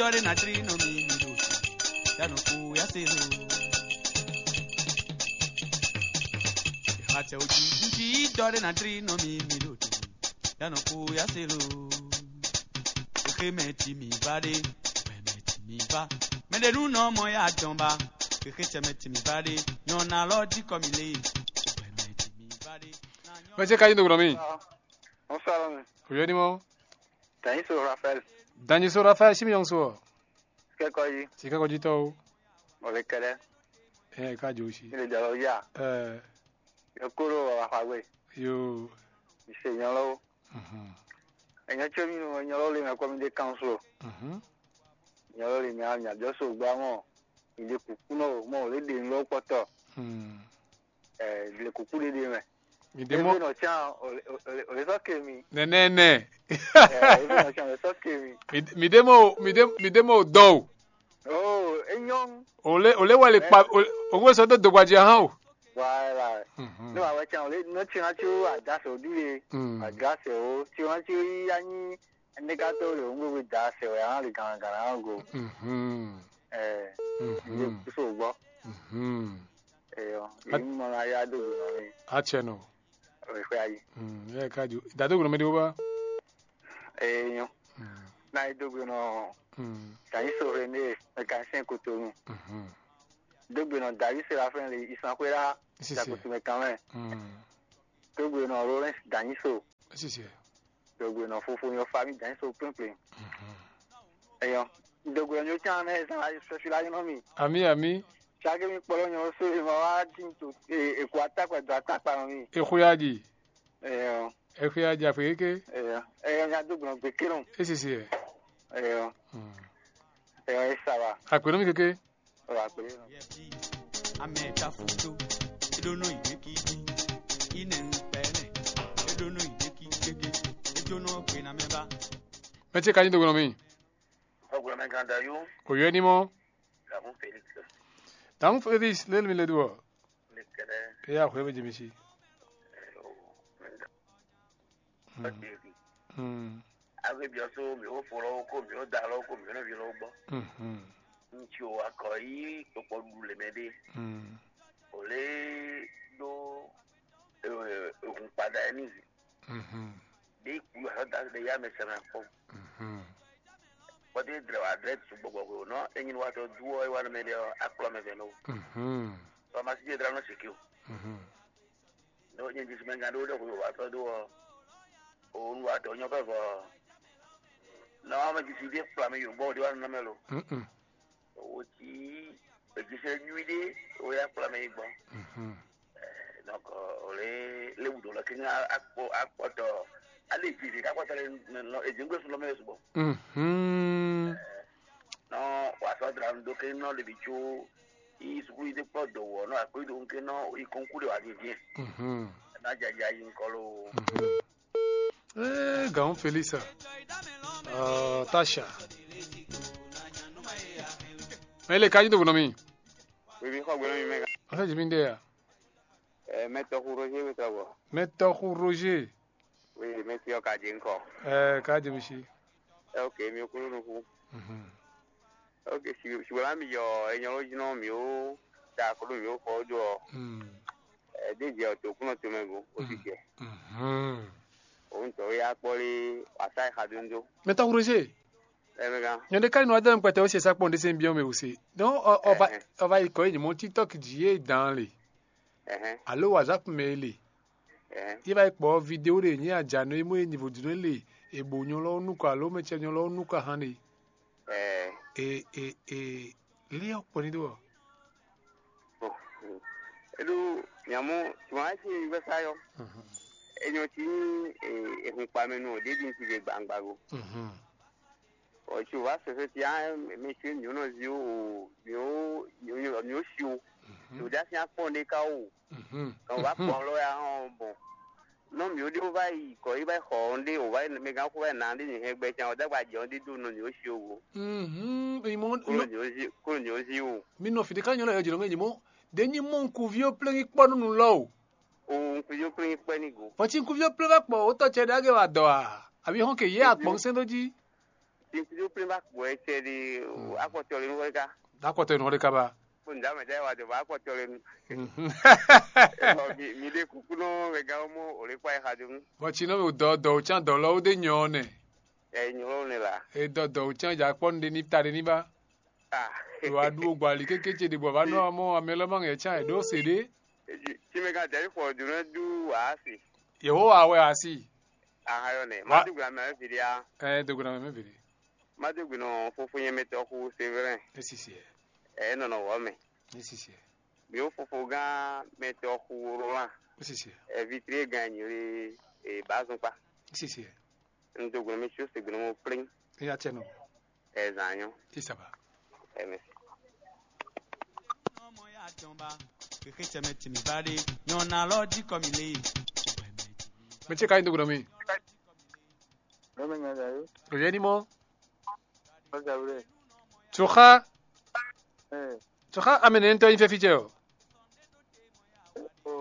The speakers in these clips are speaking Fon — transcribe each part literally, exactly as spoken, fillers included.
Dɔre na dri nɔ mi mi ɖo. Dano ko ya se lo. Hate o ji. Nji dɔre na dri nɔ mi mi ɖo. Dano ko ya se lo. Xexe mɛ ti mi va ɖe. Xexe mɛ ti mi va. Mɛ ɖe nu nɔ mɔ ya dɔn ba. Xexe cɛ mɛ ti mi va ɖe. Nyɔna lɔ di kɔ mi le. Xexe mɛ ti mi va ɖe. Mɛ ce ka yi do gblɔ mi. Bonsoir, mi. Oyo ni mo. Thanks, Raphaël. Danyi so Rafael si mi yɔn so. Kɛkɔ yi. Si kɛkɔ ji tɔ o. Mo le kɛlɛ. Eh, ka jo si. Mi le jalo ya. Eh, Yo kolo wa fa gbe. Yo. Mi se nyɔlɔ. Mhm. Enyo cho mi no nyɔlɔ le me ko mi de council. Mhm. Nyɔlɔ le mi a mi a jo so gba mo. Mi de kuku no mo le de lo kpɔtɔ. Hmm. Eh, le kuku de de me. Mi de Ebe mo no chan o le so ke mi. Nene ne. Eh, ebe no chan o le so ke mi. Mi de mo, mi de mi de mo do. Oh, enyo. O le o le wale pa o o we so do dogbaji han o. Voilà. Mhm. No awe chan o le no chan chu a da so di le. Mm. A da se o. Chan chu ya ni ne ka to le o ngwe da se o ya le gan gan go. Mhm. Eh, Mhm. Kuso gbɔ. Mhm. Eyo, At- Imɔ na ya do gbe nɔ mi. Atsɛ nɔ. Ɔyɛ xwe ayi. Mm, yɛ ka ju. Da do gbe nɔ mi de wo ba. Eyo. Mm. Na yi do gbe nɔ. Mm. Ka yi so re ne, me ka sɛn koto mi. Mhm. Do gbe nɔ David Serafin le isan xwe la. Sisi. Da koto me kan mɛ. Mm. Do gbe nɔ Lawrence Danyiso. Sisi. Dogbe nɔ fofo nyɔ fa mi dan so kpɛn kpɛn. Mhm. Eyɔ. Dogbe nyɔ chan ne sa sɛfi la nyɔ mi. Ami, ami. Chage mi kpɔlɔ nyɔ so e ma wa din to e e ko atakpa do atakpa nɔ mi. Exwe ya ji. Eyɔ. Exwe ya ji afe keke. Eyɔ. Eyɔ nya dogbe nɔ gbe kenu. Esisi ɛ. Eyɔ. Mm. Eyɔ e sa wa. Akpe nɔ mi keke. Wa kpe. Ameta fundo. Edono ideki. Ine upene. Edono ideki keke. Ejono gbe na meba. Mɛ ce ka nyi dogbe nɔ mi. Dogbe nɔ mi ganda yo. Oyɔ ni mɔ. Gamu Felix. Damu Felix lelu mi le do. Le kɛlɛ. Eya hwe be jemi si. Yo. Hmm. Ɔtɛbi. Hmm. Agbé biɔ so mi wo fo lɔ ko mi wo da lɔ ko mi wo vi lɔ gbɔ. Mhm. Ŋutsu o akɔ yi kpɔkpɔ ɖu le mɛ ɖe. Hmm. O le ɖo ehun kpada ɛ ni. Mhm. Ɖe ku yɔ da ɖe ya mɛ sɛ mɛ kpɔ. Mhm. Kpɔtɛ dlɛ wa dlɛ tu gbɔgbɔ ko nɔ enyi wa tɔ du ɔ wa mɛ ɖe ɔ akplɔ mɛ vɛ no. Mhm. Tɔ ma si je dra nɔ siki o. Mhm. Ɖo nyɛ dzi mɛ gán ɖé wó ɖɔ xwé wǒ wá tɔ́ dó ɔ́, òun wá dɔ̌ nyɔ́ vɛvɔ ɔ́, nɔ ɔ́ mɛ dzi sí ɖé kplá mì yi bɔ wǒ ɖé wá nɔ mɛ lo. Mm-mm. Wǒ cí èdzi sɛ́ nyui ɖé wó yá kplá mì yi gbɔn. Mhm. Donc ò lě léwu ɖǒ lɔ kínní akpɔ akpɔtɔ alé dzi vǐ kakpɔtɔ lɛ nɔ èdzi ŋgbé sun lɔ mɛ sugbɔ. Mhm. Nɔ wà sɔ́ dra nu dó kínní nɔ lě bǐ có yí sukúlu yi dó kpɔ́ dǒ wǔ ɔ́ nɔ akwɛ́ ɖo ŋkɛ́ nɔ yi kɔnkú ɖe wǎ vivien. Mhm. Ná jaja yi ŋkɔ loo. Mhm. Eh, Gaon Felisa. Uh, Tasha. Ele ka nyi do nɔ mi. Wiwi xɔ gbɛnɔ mi mɛ. Ɔsɛ jimi de ya. Eh, mɛ tɔxu Roger mi tɔgbɔ. Mɛ tɔxu Roger. Oui, mɛ ti ɔ ka dzi ŋkɔ. Eh, ka dzi mi si. Eh, ok, mi kúrú nukú. Mhm. Ok, si si wala mi yɔ enyɔ ló jí nɔ mi ó da kúrú mi ó fɔ dó ɔ. Mm. Eh, dé jɛ ɔ tó kúnɔ tó mɛ go, ó ti jɛ. Mhm. Òun tɔ ya kpɔ lé wàsá ìxa dóńdó. Mɛ tɔxu Roger. Ɛ mɛ gán. Nyɔnde ka nɔ adɔn kpɛtɛ ó se sa kpɔn ɖe se biɔ mɛ ó se. Donc ɔ ɔ va Ɛhɛn. Ɔ va yi kɔ yi mɔ TikTok dzi yé dan le. Ɛhɛn. Alo WhatsApp mɛ le. Ɛhɛn. Yé va yi kpɔ vidéo ɖe nyí adzanu e mɔ e niveau dunu le e bo nyɔ lɔ nukɔ alo mɛ cɛ nyɔ lɔ nukɔ ahan le. Ɛɛ. E e e li ɔ kpɔ ni do ɔ. Bon. Eɖo miamɔ tuma esi mi vɛ sa yɔ. Mhm. Enyɔ ti ni ehun kpa mɛ nu o ɖeɖi ŋuti ɖe gbangba go. Mhm. Ɔ tsi o va sɛsɛ ti a mi tsi mi nɔ zi o mi o mi o si o. Mhm. O da si akpɔ ne ka o. Mhm. Kan o va kpɔ lɔ ya hɔn bɔn. Nɔ mi o de o va yi kɔ yi va yi xɔ ɔn de o va yi mɛ gan ko va yi na de mi hɛn gbɛ can o dagba jɛ ɔn de do nɔ mi o si o go. Mhm. Imɔ Kolo mi o zi kolo mi o zi o. Mi nɔ fi ɖeka nyɔ lɛ yɔ dzi nɔ ŋɛ nyimɔ. Ɖe nyi mɔ ŋkuvi o plɛ́ nyi kpɔ nunu lɔ o. O ŋkuvi o plɛ́ nyi kpɛ ni go. Vɔ tsi ŋkuvi o plɛ́ va kpɔ o tɔ cɛ ɖe age wa dɔ a? Abi hɔn ke yɛ akpɔn sɛn do ji. Tinkutu plin ba gbɔ ɛ cɛ di akpɔtɔ le nu wɛ ka. Akpɔtɔ nu wɛ ka ba. Ko nda mɛ da wa de ba akpɔtɔ le nu. Ɔ mi mi de kuku nɔ mɛ ga mo o le kpa e xa do nu. Bɔ tsi nɔ mi dɔ dɔ o tsan dɔ lɔ o de nyɔ nɛ. Ɛ nyɔ ne la. E dɔ dɔ o tsan ja kpɔ nu de ni ta de ni ba. Ah. Wa ɖu o gbɔ ali kéké ce ɖe bɔ va nɔ mɔ amɛ lɔ ma ŋɛ tsan e ɖo se ɖe. Tsi mɛ ka jɛ xɔ do ne du wa si. Yehowa wɛ asi. Aha yɔ nɛ. Ma du gbe amɛ fi dia. Ɛ do gbe amɛ fi de. Ma du gbe nɔ fofo nyɛ mɛ tɔ xu Severin. Esisi ɛ. Ɛ nɔnɔ wɔ mɛ. Esisi ɛ. Bi wo fofo gã mɛ tɔ xu Roland. Esisi ɛ. Ɛ vitrie gã nyiri e ba zun kpa. Esisi ɛ. Un do gbe nɔ mi tso se gbe nɔ mo plein. Eya tse nɔ. Ɛ zan nyɔ. Isaba. Ɛ mɛ. Mɛ tse ka nyi do gbe nɔ mi. Lọ́mọ yẹn dàrú. Òye ni mọ́. Wọ́n dàrú rẹ̀. Tùxá. Ẹ̀. Tùxá amɛnɛ ŋutɔ nyi fɛ́fí jɛ o. Ọ̀.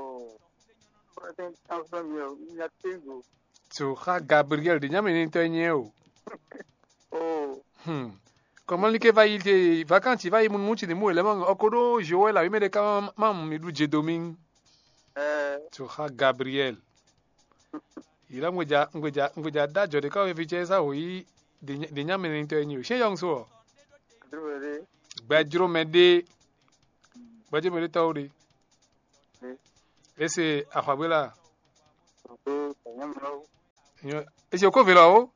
Wọ́n ti ń tán fún mi o. Ní a ti ń gò. Tùxá Gabriel ɖě nyí amɛnɛ ŋutɔ nyi o. Oh. Hmm. Kɔmɔlíké va yi te vakansi va yi mu nú tsi ní mú wělɛ́ mɔ ɔkó ɖó Joel awǐ mɛ ɖé ká má mu mi ɖu jedo mì. Ɛ. Tùxá Gabriel. Yǐlá ŋgbeja ŋgbeja ŋgbeja dá jɔ ɖé ká wɛ fi cɛ sá wǒ yí ɖě nyá mɛ nɛnitɔ e nyi o. Sɛ́n yɔ́ŋ so ɔ. Adúró ɖé. Gbɛjró mɛ ɖé. Gbɛjró mɛ ɖé tɔ́ wó ɖé. Ese axɔagbe la. Ese okó vǐ lɔ o.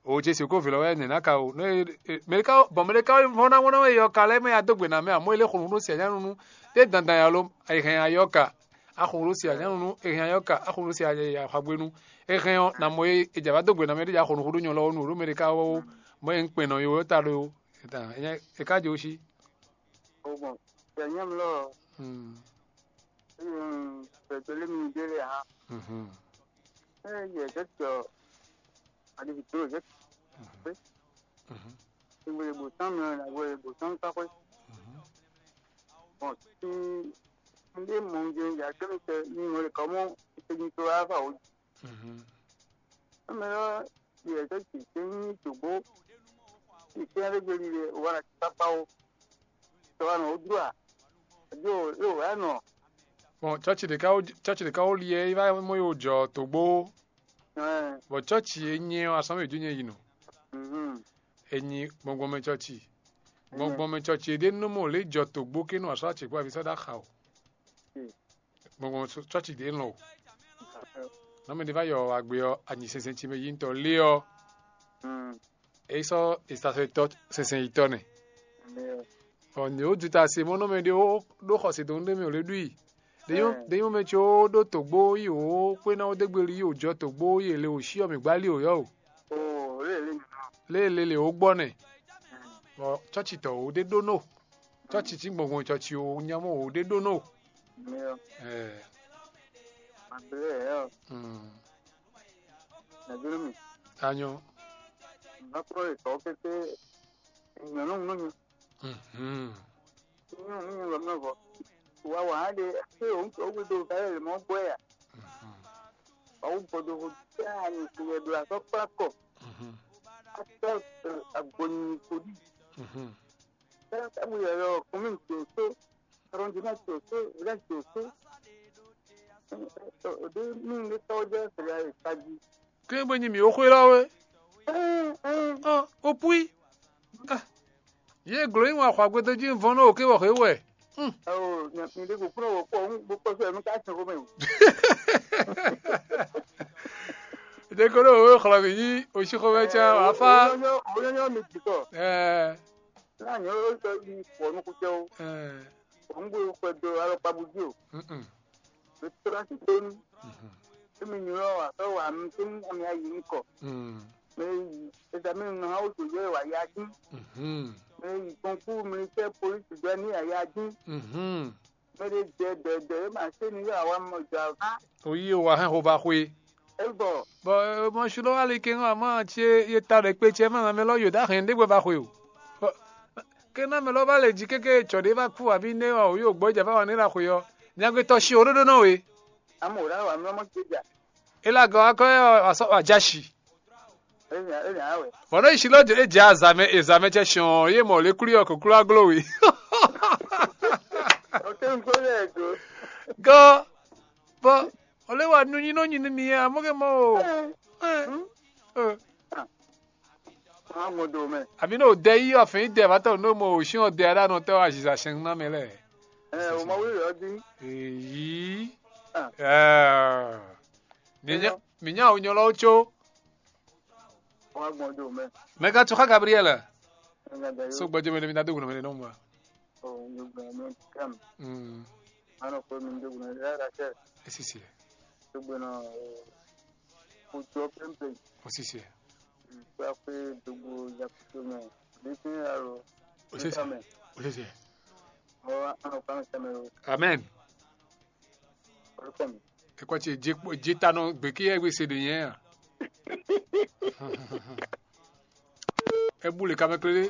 O Jesu okó vǐ lɔ wɛ nɛ̌ ná ka o. Mɛ ɖé ka bɔn mɛ ɖé ka vɔ́n ná wɔn ná wɛ yɔ ka lɛ́ mɛ ya dó gbe ná mɛ amɔ̌ e lé xo nǔ ɖó sia nyánunu. Ɖé dandan ya lo è hɛn ayɔ ka. A xo nǔ ɖó sia nyánunu, è hɛn ayɔ ka. A xo nǔ ɖó sia axɔagbe nu. È hɛn ɔ́, nǎ mɔ e è jǎ vá dó gbe ná mɛ ɖé ya xo nǔ xo ɖó nyɔ lɔ nu ɖó mɛ ɖé ka wɔ o. Mɔ e un kpɛn nɔ yo ta ɖo. È ka jǒ sí. Ó gbɔn, yɛ nyɛ́ mlɔ́ ɔ́, gbɛgbɛlé mi ɖé lɛ́ɛ hã. Ée yɛ zɛ́ tɔ aɖivi dó zɛ́ pé, ìwé bǒ tán mɛ, ìwé bǒ tán kpá xwé. Bɔn, si un ɖe mɔ un jɛ ya kɛ́ mi tɛ, mi mɔ le kɔmɔ, ìtɛ́jú tó wá fà wǒ. Ame ɔ́, yɛ zɛ́ jǐ tɛ́ nyí dǒgbó, si tɛ́ ɖé gbe ɖiɖe wá ná kpákpá ó. Tɔ wá nɔ wó dlú a? Adi o, é wǒ wá nɔ. Bɔn cɔ́ci ɖě ká wó cɔ́ci ɖě ká wó li ɛ é wá mɔ yi wó jɔ tǒgbó. Bɔn cɔ́ci e nyɛ ɔ́, asɔ́mɛ jí nyɛ yi nɔ. E nyi gbɔngbɔnmɛ cɔ́ci. Gbɔngbɔnmɛ cɔ́ci e ɖě nɔ mɔ lě jɔ tǒgbó ké nɔ asɔ́ acǐkpó avi sɔ́ ɖó axa o. Gbɔngbɔn cɔ́ci ɖě lɔn o. Nɔ́ mɛ ɖé vá yɔ agbe ɔ́, anyi sɛnsɛn ce mɛ yi ŋutɔ lé ɔ́, é sɔ́ ìsasɔ́yitɔ́ sɛnsɛn yitɔ́ nɛ. Bɔ nǔ e wó juta se mɔ́ nɔ́ mɛ ɖé ó ɖó xɔse dɔn nú ɖé mɛ ò lě ɖu i. Ɖé nyɔ́ mɛ ce ó ɖó tǒgbó yi wǒ xwé ná ó dégbeli yi wǒ jɔ tǒgbó yi è le wǒ cyɔ mǐ gbá lí wǒ yɔ́ o. Lě e lě lě wǒ gbɔ nɛ. Bɔ cɔ́ci tɔn wǒ ɖé ɖó nɔ. Cɔ́ci cí gbɔngbɔn cɔ́ci o nyamɔ wǒ ɖé ɖó nɔ. Ɛɛ. Anyɔ. Nyɔnu nyɔnu lɔ mɛ vɔ. Wa wa hã ɖe eye o ŋutɔ wo do va yɛ mɔ gbɔ ya. Wa wo gbɔdo ho ta ni ko yɛ do asɔ kpla kɔ. Ata agbɔnyi ko di. Ata mu yɛ yɔ kɔmi to so. Arrondissement to so, village to so. O de mi ne tɔ jɛ fɛ ya taji. Kí bó nyi mǐ ó xwé lɔ wé. Ɔ, ó púí. Yě glǒ nyi wọn xɔ agbedó jí vɔn nú òkè wɔ xwé wɛ. Ɔ, mi de ko kúrò wò kpɔ, bó kpɔ sọ mi ká sìn xó mɛ o. Ɖe ko ɖo wò xlɔ mǐ yí òsí xó mɛ tsã wà fá. Òun yɔ mi jì kɔ. Ɛɛ. Náà ni ó sọ yí pọ̀ nú kúkẹ́ ó. Ɛɛ. Òun gbé xwɛ do alɔkpabu jí o. Mm-mm. Restaurant tó ní. Mhm. Tí mi nyɔ́ wà fẹ́ wà mí tó ní àmì ayé ní kọ̀. Mm. Mɛ yi examen nɔ hã wó tó yɛ wà yá dín. Mhm. Mɛ yi concours militaire police jɛ ní àyá dín. Mhm. Mɛ ɖé jɛ dɛdɛ é ma sé ní yà wà mɔ jɔ àvá. Oyi o wà hɛn xo va xwe. É bɔ. Bɔ mɔ su lɔ wà lè ké ŋɔ àmọ́ àti e ta ɖe kpe cɛ mɛ mɛ lɔ yòdá hɛn ɖé gbɛ va xwe o. Bɔ ké ná mɛ lɔ va lè jí kéké tsɔ ɖé va kú àbí né wà o yóò gbɔ ìjà va wà ní la xwe ɔ. Nyagbetɔ si o ɖoɖo nɔ we. Amò rà wà mí ọmọ kéjà. Ela gɔ akɔ yɛ asɔ wa jasi. Enya enya awɛ. Bɔn ne si lɔ e dze azamɛ ezamɛ cɛ sɔn ye mɔ le kuli ɔ koklo aglo we. Oke n ko lɛ do. Gɔ bɔ o le wa nu nyi nɔ nyi ni a mo ke mɔ o. Ɛ, ɛ. Maa ŋɔ do mɛ. Abi ne o dɛ yi afin dɛ va tɔ no mo o si o dɛ a da nɔ tɛ o aziza sɛn na mɛ lɛ. Ɛ o ma wuli yɔ di. Eyi. Ah. Ɛ. Mi nya mi nya o nyɔ lɔ tso. Wá gbɔn dó mɛ. Mɛ ka tso xa Gabriel. Ɛnɛ da So yó. Gbɔdze mɛ mi na do gunɔ mɛ nɔ mɔ. O mi gbɔn mɛ kam. Mm. Ano ko mi do gunɔ ya da kɛ. Esisi. To gbɔn o ko to pempe. Osisi. Kwa kwe do go ya ko mɛ. Ni tin alo. Osisi. Mɛ. Osisi. O ano kan sa mɛ o. Amen. Orúkọ mi. Ekɔ tse dzi kpɔ dzi ta nɔ gbe kí ɛ gbèsè ɖe yẹn a. Ebu le kamɛ kple.